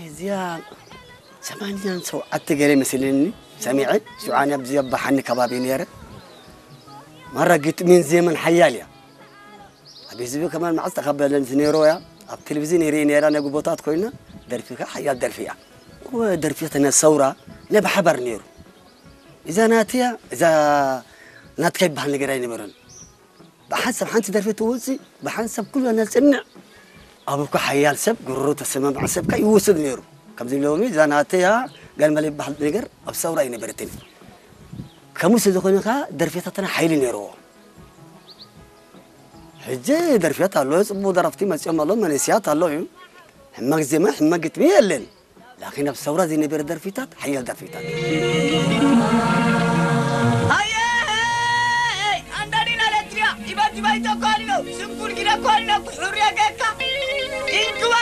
እዚኣ ሰማንያን ሸውዓተ ገለ መስለኒ ሰሚዐ። ሽዑ ኣነ ኣብዚ ኣብ ባሓኒ ከባቢ ነይረ። ማራ ግጥሚን ዜማን ሓያል እያ። ኣብ ህዝቢ ከማን መዓስ ተቐበለንስ ነይሩ እያ። ኣብ ቴሌቪዝን ይርኢ ነይራ፣ ናይ ጎቦታት ኮይና፣ ደርፊ ከ ሓያል ደርፊ እያ። እወ፣ ደርፊ ተነ ሰውራ ናይ ብሓባር ነይሩ። እዛ ናትያ፣ እዛ ናትካ ይበሃል ነገር ኣይነበረን። ብሓንሳብ ሓንቲ ደርፊ ትወፅእ፣ ብሓንሳብ ኩሉ ነፅንዕ። ኣብ እኮ ሓያል ሰብ ጉሮሮ ተሰማምዐ ሰብ ከ ይወስድ ነይሩ። ከምዚ ሎሚ እዛ ናተያ ጋልመለ ይበሃል ነገር ኣብ ሰውራ ኣይነበረትን። ከምኡ ስለ ዝኾነ ከ ደርፊታትና ሓይሊ ነይርዎ። ሕጂ ደርፍያት ኣሎ፣ ጽቡቕ ደረፍቲ መጺኦም ኣሎ፣ መንእስያት ኣሎ እዩ። ሕማቅ ዜማ፣ ሕማቅ ግጥሚ የለን። ላኪን ኣብ ሰውራ ዘይነበረ ደርፊታት፣ ሓያል ደርፊታት። ኣየ! ኣንዳዲና ለትሪያ፣ ኢበት ኢባይቶ ኳሊኖ፣ ሽንኩር ጊደ ኳሊኖ፣ ኩሑር የገካ። ኢንክዋ